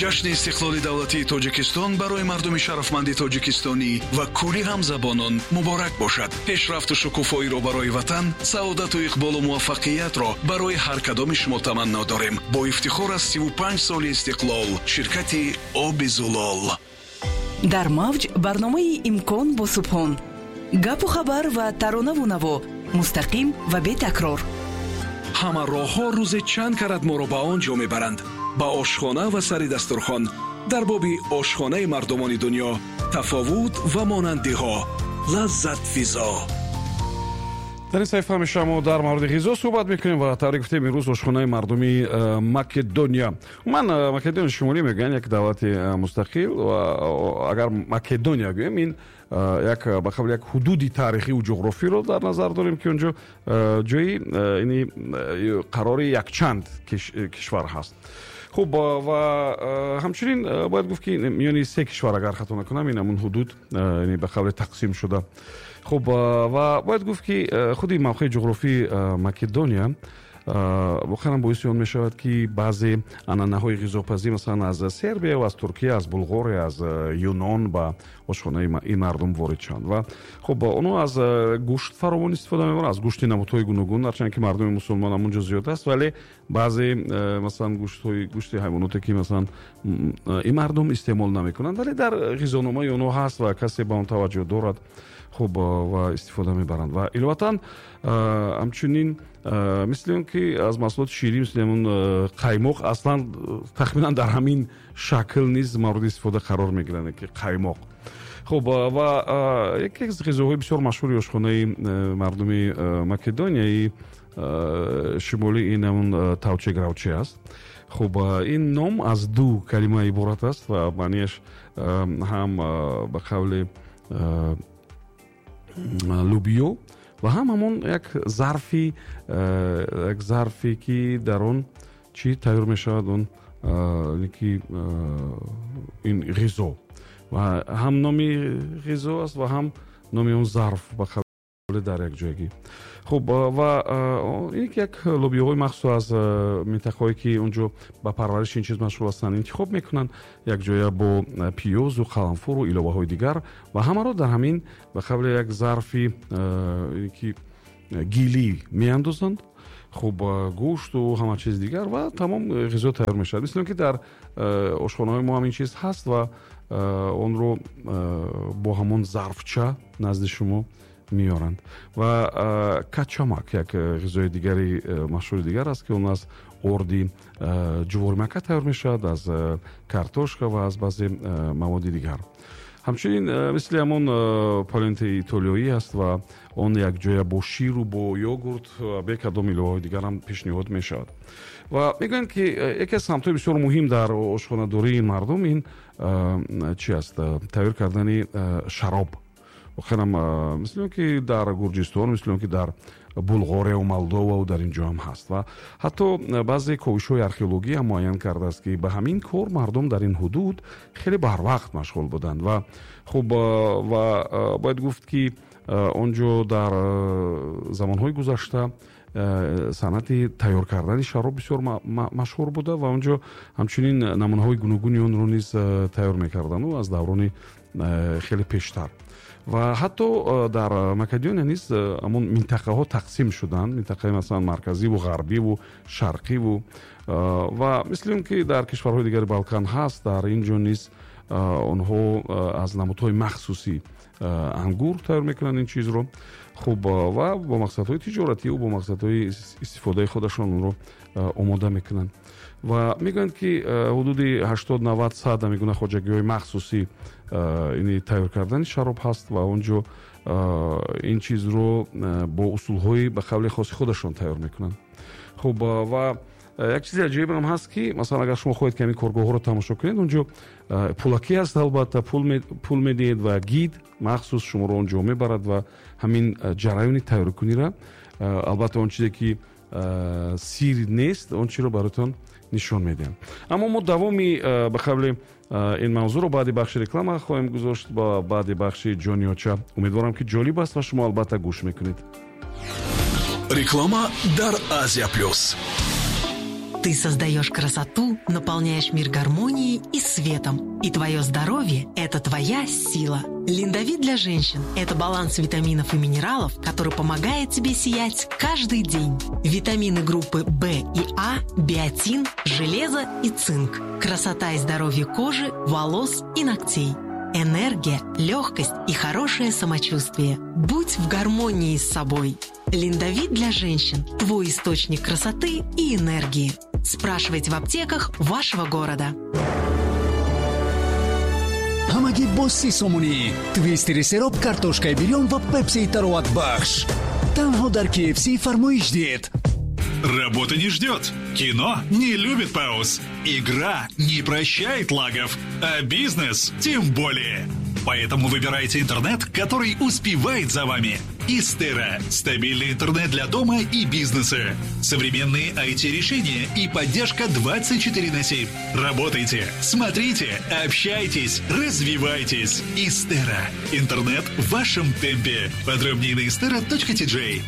Ҷашни истиқлоли давлатии Тоҷикистон барои мардуми шарафманди тоҷикистонӣ ва кулли ҳамзабонон муборак бошад. Пешрафту шукуфоиро барои ватан, саодату иқболу муваффақиятро барои ҳар кадоми шумо таманно дорем. Бо ифтихор аз 35 соли истиқлол, ширкати Оби Зулол. Дар мавҷ барномаи «Имкон» бо Субҳон. Гапу хабар ва таронаву наво мустақим ва бетакрор. Ҳама роҳҳо рӯзе чанд карат моро ба он ҷо мебаранд, ба ошхона ва сари дастурхон. Дар боби ошхонаи мардумони дунё, тафовут ва монандиҳо, лаззатфизо. Дар ин саҳифа ҳамеша мо дар мавриди ғизо суҳбат мекунем ва тавре гуфтем, имрӯз ошхонаи мардуми Македония. Умуман, Македонияи Шимолӣ мегӯянд, як давлати мустақил ва агар Македония гӯем, ин як ба қавли як ҳудуди таърихиву ҷуғрофиро дар назар дорем, ки он ҷо ҷои ини қарори якчанд кишвар ҳаст. Хуб, ва ҳамчунин бояд гуфт, ки миёни се кишвар, агар хато накунам, ин ҳамун ҳудуд ба қавли тақсим шуда. Хуб, ва бояд гуфт, ки худи мавқеи ҷуғрофии Македония воқеан боиси он мешавад, ки баъзе анъанаҳои ғизопазӣ, масалан, аз Сербия, аз Туркия, аз Булғория, аз Юнон ба ошхонаи ин мардум ворид шаванд. Ва хуб, онҳо аз гӯшт фаровон истифода мебаранд, аз гӯшти намудҳои гуногун. Ҳарчанд ки мардуми мусулмон ҳамон ҷо зиёд аст, вале баъзе, масалан, гӯштҳои, гӯшти ҳайвоноте, ки, масалан, ин мардум истеъмол намекунанд, вале дар ғизономаи онҳо ҳаст ва касе ба он таваҷҷӯҳ дорад. Хуб, ва истифода мебаранд. Ва иловатан, ҳамчунин, мисли он ки аз маҳсулоти ширӣ, мисли ҳамун қаймоқ, аслан тахминан дар ҳамин шакл низ мавриди истифода қарор мегиранд, ки қаймоқ. Хуб, ва яке аз ғизоҳои бисёр машҳури ошхонаи мардуми Македонияи Шимолӣ ин ҳамун тавче гравче аст. Хуб, ин ном аз ду калима иборат аст ва маънияш ҳам ба қавли лӯбиё ва ҳам ҳамон як зарфе, ки дар он чӣ тайёр мешавад, он ки ин ғизо, ва ҳам номи ғизо аст ва ҳам номи он зарф, ба қавле дар як ҷойгӣ. Хуб, ва ин ки як лӯбиёҳои махсус аз минтақаҳое, ки он ҷо ба парвариши ин чиз машғул ҳастанд, интихоб мекунанд, якҷоя бо пиёзу қаламфуру иловаҳои дигар, ва ҳамаро дар ҳамин ба қавли як зарфи ки гилӣ меандозанд. Хуб, гӯшту ҳама чиз дигар, ва тамом, ғизо тайёр мешавад. Мисли он ки дар ошхонаҳои мо ҳам ин чиз ҳаст ва онро бо ҳамон зарфча назди шумо меоранд. Ва качамак як ғизои дигари машҳури дигар аст, ки он аз орди ҷуворимакка тайёр мешавад, аз картошка ва аз баъзе маводи дигар. Ҳамчунин, мисли ҳамон полентаи итолиёӣ аст ва он якҷоя бо ширу бо йогурт, бе кадом иловаҳои дигарам пешниҳод мешавад. Ва мегӯянд, ки яке аз самтҳои бисёр муҳим дар ошхонадории ин мардум ин чи аст? Тайёр кардани шароб. Воқеанам, мисли он ки дар Гурҷистон, мисли он ки дар Булғорияву Молдовау, дар ин ҷо ҳам ҳаст. Ва ҳатто баъзе ковишҳои археологӣ ҳам муайян кардааст, ки ба ҳамин кор мардум дар ин ҳудуд хеле барвақт машғул буданд. Ва хуб, ва бояд гуфт, ки он ҷо дар замонҳои гузашта санъати тайёр кардани шароб бисёр машҳур буда ва он ҷо ҳамчунин намунаҳои гуногуни онро низ тайёр мекарданду аз даврони хеле пештар. Ва ҳатто дар Македония низ ҳамон минтақаҳо тақсим шуданд, минтақаи, масалан, марказиву ғарбиву шарқиву. Ва мисли он ки дар кишварҳои дигари Балкан ҳаст, дар ин ҷо низ онҳо аз намудҳои махсуси ангур тайёр мекунанд ин чизро. Хуб, ва бо мақсадҳои тиҷоративу бо мақсадҳои истифодаи худашон онро омода мекунанд. Ва мегӯянд, ки ҳудуди 80, 90, 100 ҳамин гуна хоҷагиҳои махсусӣ ини тайёр кардани шароб ҳаст ва он ҷо ин чизро бо усулҳои ба қавли хоси худашон тайёр мекунанд. Хуб, ва як чизи аҷоибам ҳаст, ки, масалан, агар шумо хоҳед, ки ҳамин коргоҳҳоро тамошо кунед, он ҷо пулакӣ аст, албатта, пул медиҳед ва гид махсус шуморо он ҷо мебарад ва ҳамин ҷараёни тайёркуниро, албатта, он чизе ки сир нест, он чиро бароятон нишон медиҳам. Аммо мо давоми ба қавли ин мавзӯъро баъди бахши реклама хоҳем гузошт, ба баъди бахши ҷониёча. Умедворам, ки ҷолиб аст ва шумо албатта гӯш мекунед. Реклама дар Азия Плюс. Ты создаешь красоту, наполняешь мир гармонией и светом. И твое здоровье – это твоя сила. Линдовит для женщин – это баланс витаминов и минералов, который помогает тебе сиять каждый день. Витамины группы В и А, биотин, железо и цинк. Красота и здоровье кожи, волос и ногтей. Энергия, легкость и хорошее самочувствие. Будь в гармонии с собой. Линдовит для женщин – твой источник красоты и энергии. Спрашивайте в аптеках вашего города. Ҳамагӣ бо 30 сомонӣ твистери сероб, картошкаи бирён ва пепсии тароватбахш танҳо дар KFC фармоиш диҳед. Работа не ждет. Кино не любит пауз. Игра не прощает лагов. А бизнес тем более. Поэтому выбирайте интернет, который успевает за вами. Истера. Стабильный интернет для дома и бизнеса. Современные IT-решения и поддержка 24 на 7. Работайте, смотрите, общайтесь, развивайтесь. Истера. Интернет в вашем темпе. Подробнее на istera.tj.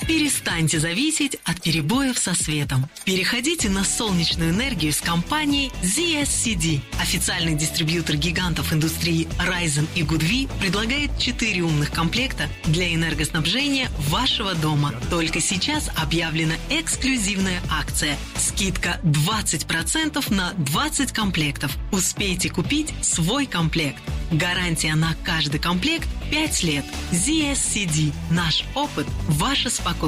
Перестаньте зависеть от перебоев со светом. Переходите на солнечную энергию с компанией ZSCD. Официальный дистрибьютор гигантов индустрии Risen и Goodwe предлагает 4 умных комплекта для энергоснабжения вашего дома. Только сейчас объявлена эксклюзивная акция. Скидка 20% на 20 комплектов. Успейте купить свой комплект. Гарантия на каждый комплект 5 лет. ZSCD. Наш опыт – ваше спокойствие.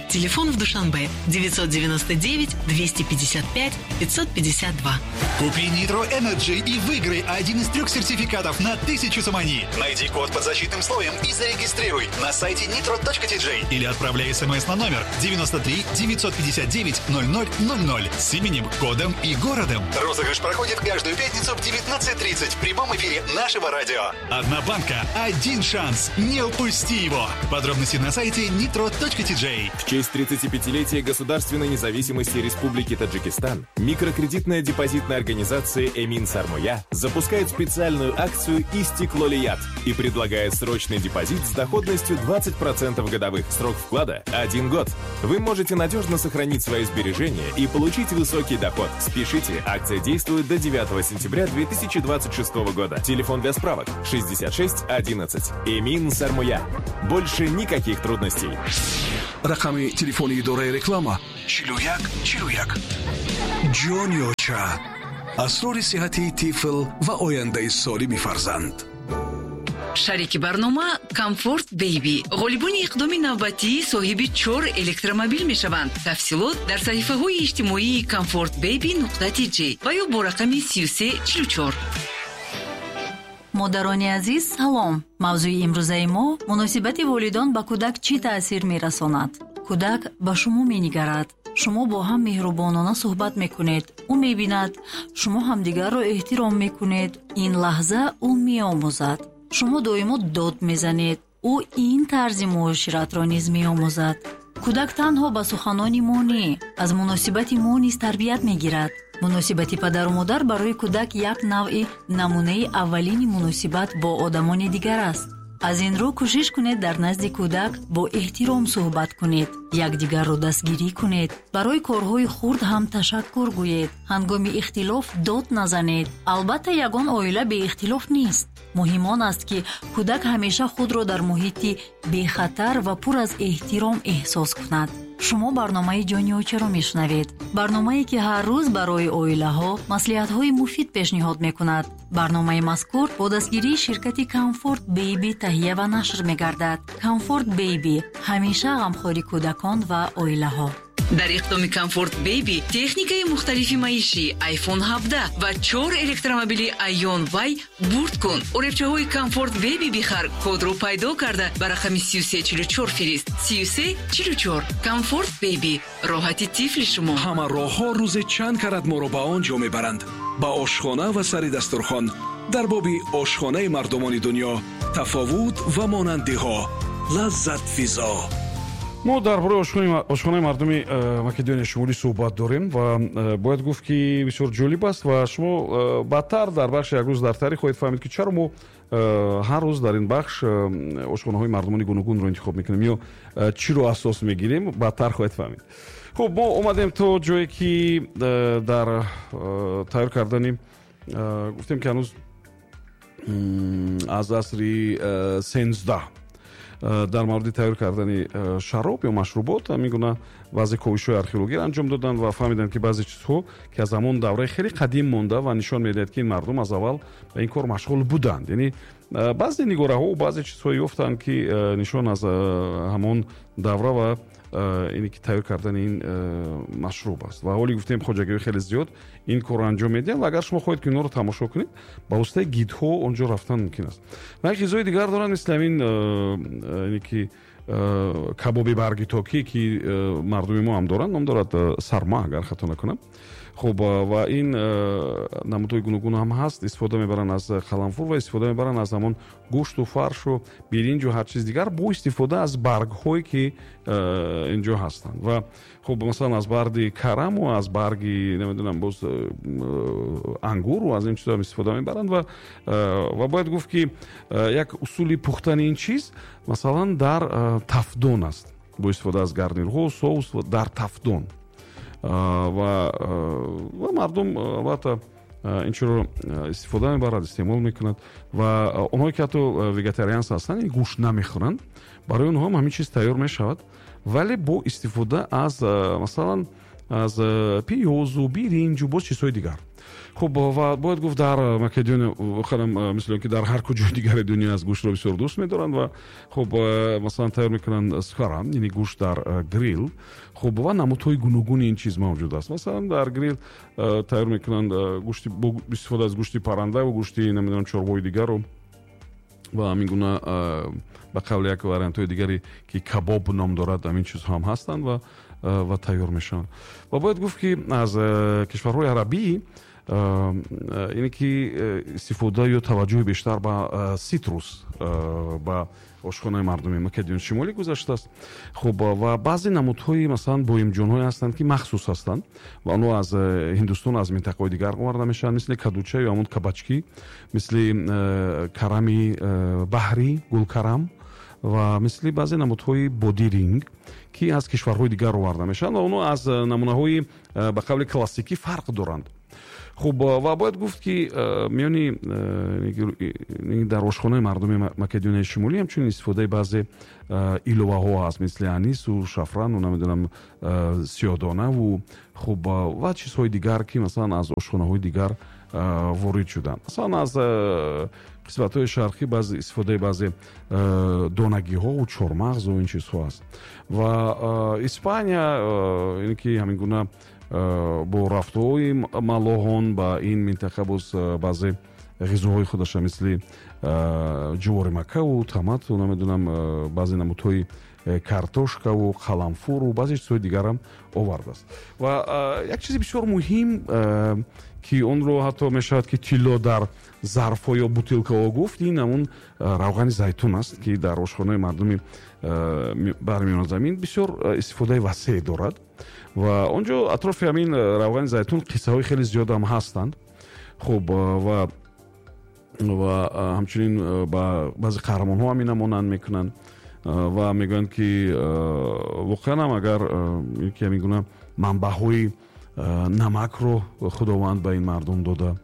Телефон в Душанбе 999 255 552. Купи Nitro Energy и выиграй один из трех сертификатов на 1000 сомони. Найди код под защитным слоем и зарегистрируй на сайте nitro.tj или отправляй смс на номер 93 959 0000 с именем, кодом и городом. Розыгрыш проходит каждую пятницу в 19.30 в прямом эфире нашего радио. Одна банка, один шанс. Не упусти его. Подробности на сайте nitro.tj. В честь 35-летия государственной независимости Республики Таджикистан микрокредитная депозитная организация «Эмин Сармоя» запускает специальную акцию «Истиклолият» и предлагает срочный депозит с доходностью 20% годовых. Срок вклада – один год. Вы можете надежно сохранить свои сбережения и получить высокий доход. Спешите, акция действует до 9 сентября 2026 года. Телефон для справок 66 11. «Эмин Сармоя». Больше никаких трудностей. Рақами телефони идораи реклама 41 41. Ҷони оча, асрори сиҳати тифл ва ояндаи солими фарзанд. Шарики барнома Комфорт Бейби. Ғолибони иқдоми навбатӣ соҳиби чор электромобил мешаванд. Тафсилот дар саҳифаҳои иҷтимоии Комфорт Бейби нуқта тж ва ё бо рақами 3344. Модарони азиз, салом! Мавзӯи имрӯзаи мо: муносибати волидон ба кӯдак чӣ таъсир мерасонад. Кӯдак ба шумо менигарад. Шумо бо ҳам меҳрубонона суҳбат мекунед. Ӯ мебинад, шумо ҳамдигарро эҳтиром мекунед. Ин лаҳза ӯ меомӯзад. Шумо доимо дод мезанед, ӯ ин тарзи муоширатро низ меомӯзад. Кӯдак танҳо ба суханони мо не, аз муносибати мо низ тарбият мегирад. Муносибати падару модар барои кӯдак як навъи намунаи аввалини муносибат бо одамони дигар аст. Аз ин рӯ кӯшиш кунед, дар назди кӯдак бо эҳтиром суҳбат кунед, якдигарро дастгирӣ кунед, барои корҳои хурд ҳам ташаккур гӯед, ҳангоми ихтилоф дод назанед. Албатта, ягон оила беихтилоф нест. Муҳим он аст, ки кӯдак ҳамеша худро дар муҳити бехатар ва пур аз эҳтиром эҳсос кунад. Шумо барномаи Ҷони очаро мешунавед, барномае, ки ҳар рӯз барои оилаҳо маслиҳатҳои муфид пешниҳод мекунад. Барномаи мазкур бо дастгирии ширкати Комфорт Бейби таҳия ва нашр мегардад. Комфорт Бейби ҳамеша ғамхори кӯдакон ва оилаҳо. Дар иқдоми Комфорт Бейби техникаи мухталифи маишӣ, iPhone 17 ва чор электромобили Aion Y бурд кун. Оребчаҳои Комфорт Бейби бихар, кодро пайдо карда ба рақами 3344 фирист. 3344. Комфорт Бейби, роҳати тифли шумо. Ҳама роҳҳо рӯзе чанд карат моро ба он ҷо мебаранд, ба ошхона ва сари дастурхон. Дар боби ошхонаи мардумони дунё, тафовут ва монандиҳо. Лаззат физо. Мо дар бораи ошхонаи мардуми Македонияи Шумолӣ суҳбат дорем ва бояд гуфт, ки бисёр ҷолиб аст ва шумо баъдтар дар бахши Як рӯз дар таърих хоҳед фаҳмид, ки чаро мо ҳар рӯз дар ин бахш ошхонаҳои мардумони гуногунро интихоб мекунем ё чиро асос мегирем. Баъдтар хоҳед фаҳмид. Хуб, мо омадем то ҷое ки дар тайёр кардани, гуфтем ки ҳанӯз аз асри 13 дар мавриди тайёр кардани шароб ё машрубот ҳамин гуна баъзе ковишҳои археологиро анҷом доданд ва фаҳмиданд, ки баъзе чизҳо, ки аз ҳамон давраи хеле қадим монда ва нишон медиҳад, ки ин мардум аз аввал ба ин кор машғул буданд. Яъне баъзе нигораҳо, баъзе чизҳое ёфтанд, ки нишон аз ҳамон давра ва ине ки тайёр кардани ин машруб аст. Ва ҳоли гуфтем, хоҷагиҳои хеле зиёд ин корро анҷом медиҳанд ва агар шумо хоҳед, ки инҳоро тамошо кунед, ба воситаи гидҳо он ҷо рафтан мумкин аст. Ва як ғизои дигар доранд, мисли ҳамин ине ки кабоби барги токӣ, ки мардуми мо ҳам доранд, ном дорад сарма, агар хато накунам. Хуб, ва ин намудҳои гуногун ҳам ҳаст. Истифода мебаранд аз қаламфур ва истифода мебаранд аз ҳамон гӯшту фаршу биринҷу ҳар чиз дигар бо истифода аз баргҳое, ки инҷо ҳастанд. Ва хуб, масалан, аз барги караму аз барги, намедонам, боз ангуру аз ин чизҳо истифода мебаранд. Ва бояд гуфт, ки як усули пухтани ин чиз, масалан, дар тафдон аст, бо истифода аз гарнирҳо, соус дар тафдон. Ва мардум албатта ин чиро истифода мебарад, истеъмол мекунад. Ва онҳое ки ҳатто вегетарианс ҳастанд, гӯшт намехӯранд, барои онҳо ҳам ҳамин чиз тайёр мешавад, вале бо истифода аз, масалан, аз пиёзу биринҷу боз чизҳои дигар. Хуб, ва бояд гуфт, дар Македония воқеан, мисли он ки дар ҳар куҷои дигари дунё аст, гӯштро бисёр дӯст медоранд. Ва хуб, масалан, тайёр мекунанд схара, яъне гӯшт дар грил. Хуб, ва намудҳои гуногуни ин чиз мавҷуд аст. Масалан, дар грил тайёр мекунанд гӯшти бо истифода аз гӯшти парранда ва гӯшти, намедонам, чорвои дигару ва ҳамин гуна, ба қавли як вариантҳои дигаре, ки кабоб ном дорад, ҳамин чизҳо ҳам ҳастанд ва тайёр мешаванд. Ва бояд гуфт, ки аз кишварҳои арабӣ ине ки истифода ё таваҷҷӯҳи бештар ба ситрус ба ошхонаи мардуми Македони Шимолӣ гузаштааст. Хуб, ва баъзе намудҳои, масалан, боимҷонҳое ҳастанд, ки махсус ҳастанд ва онҳо аз Ҳиндустон, аз минтақаҳои дигар оварда мешаванд, мисли кадуча ё ҳамон кабачки, мисли карами баҳрӣ, гулкарам ва мисли баъзе намудҳои бодиринг, ки аз кишварҳои дигар оварда мешаванд ва онҳо аз намунаҳои ба қавли классикӣ фарқ доранд. Хуб, ва бояд гуфт, ки миёни дар ошхонаи мардуми Македонияи Шимолӣ ҳамчунин истифодаи баъзе иловаҳо ҳаст, мисли анису шафрану, намедонам, сиёдонаву, хуб, ва чизҳои дигар, ки масалан аз ошхонаҳои дигар ворид шуданд. Масалан, аз қисматҳои шарқӣ баъзе истифодаи баъзе донагиҳову чормағзу ин чизҳо аст. Ва Испания ин ки ҳамин гуна бо рафтуҳои маллоҳон ба ин минтақа боз баъзе ғизоҳои худаша, мисли ҷуворимаккаву томату, намедонам, баъзе намудҳои картошкаву қаламфуру баъзе чизҳои дигарам овардааст. Ва як чизи бисёр муҳим, ки онро ҳатто мешавад, ки тилло дар зарфҳо ё бутилкаҳо гуфт, ин ҳамун равғани зайтун аст, ки дар ошхонаи мардуми баҳри Миёназамин бисёр истифодаи васеъ дорад. Ва он ҷо атрофи ҳамин равғани зайтун қиссаҳои хеле зиёдам ҳастанд. Хуб, ва ҳамчунин ба баъзе қаҳрамонҳо ҳам ина монанд мекунанд ва мегӯянд, ки воқеан ҳам агар ки ҳамин гуна манбаъҳои намакро Худованд ба ин мардум дода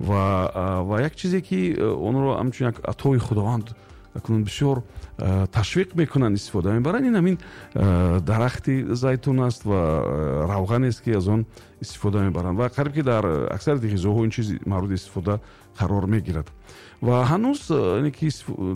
ва як чизе, ки онро ҳамчун як атои Худованд акнун бисёр ташвиқ мекунанд, истифода мебаранд, ин ҳамин дарахти зайтун аст ва равғанест, ки аз он истифода мебаранд. Ва қариб ки дар аксарияти ғизоҳо ин чиз мавриди истифода қарор мегирад. Ва ҳанӯз ки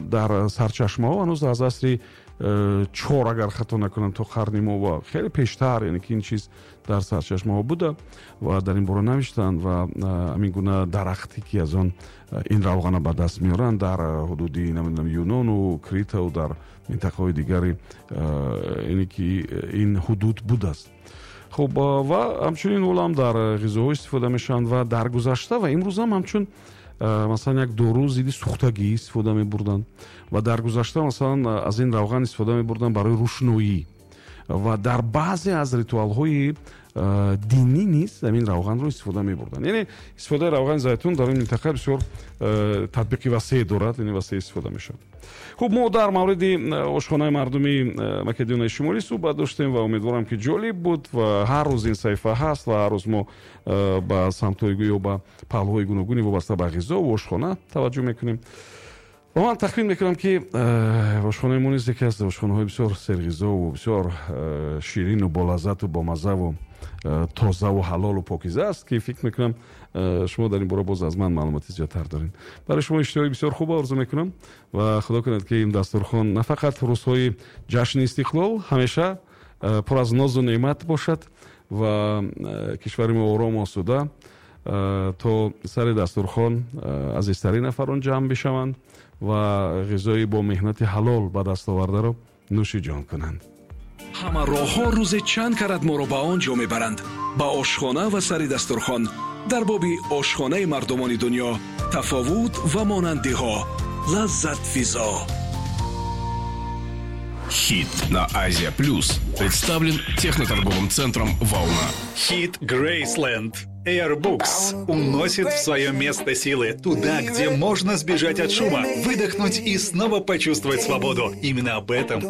дар сарчашмаҳо ҳанӯз аз асри 4, агар хато накунам, то қарни мо ва хеле пештар, яъне ки ин чиз дар сарчашмаҳо буда ва дар ин бора навиштанд. Ва ҳамин гуна дарахте, ки аз он ин равғана ба даст меоранд, дар ҳудуди, намедонам, Юнону Критаву дар минтақаҳои дигари ине ки ин ҳудуд будааст. Хуб, ва ҳамчунин ҳолам дар ғизоҳо истифода мешаванд ва дар гузашта ва имрӯзам ҳамчун, масалан, як дору зидди сӯхтагӣ истифода мебурданд. Ва дар гузашта, масалан, аз ин равған истифода мебурданд барои рӯшноӣ. Ва дар баъзе аз ритуалҳои динӣ низ ҳамин равғанро истифода мебурданд. Яъне истифодаи равғани зайтун дар ин минтақа бисёр татбиқи васеъ дорад, яъне васеъ истифода мешавад. Хуб, мо дар мавриди ошхонаи мардуми Македонияи Шимолӣ суҳбат доштем ва умедворам, ки ҷолиб буд. Ва ҳар рӯз ин саҳифа ҳаст ва ҳар рӯз мо ба самтҳои ё ба паҳлӯҳои гуногуни вобаста ба ғизову ошхона таваҷҷӯҳ мекунем. Ва ман тахмин мекунам, ки ошхонаи мо низ яке аз ошхонаҳои бисёр серғизову бисёр ширину болаззату бомаззаву тозаву ҳалолу покиза аст, ки фикр мекунам, шумо дар ин бора боз аз ман маълумоти зиёдтар доред. Барои шумо иштиҳои бисёр хуб орзу мекунам ва худо кунад, ки ин дастурхон на фақат рӯзҳои ҷашни истиқлол, ҳамеша пур аз нозу неъмат бошад ва кишвари мо орому осуда, то сари дастурхон азизтарин нафарон ҷамъ бишаванд ва ғизои бо меҳнати ҳалол ба даст овардаро нӯши ҷон кунанд. Ҳама роҳҳо рӯзе чанд карат моро ба он ҷо мебаранд, ба ошхона ва сари дастурхон. Дар боби ошхонаи мардумони дунё, тафовут ва монандиҳо, лаззатфизо. Хит на Азия Плюс представлен техноторговым центром «Волна». Хит Грейсленд. Airbooks уносит в свое место силы, туда, где можно сбежать от шума, выдохнуть и снова почувствовать свободу. Именно об этом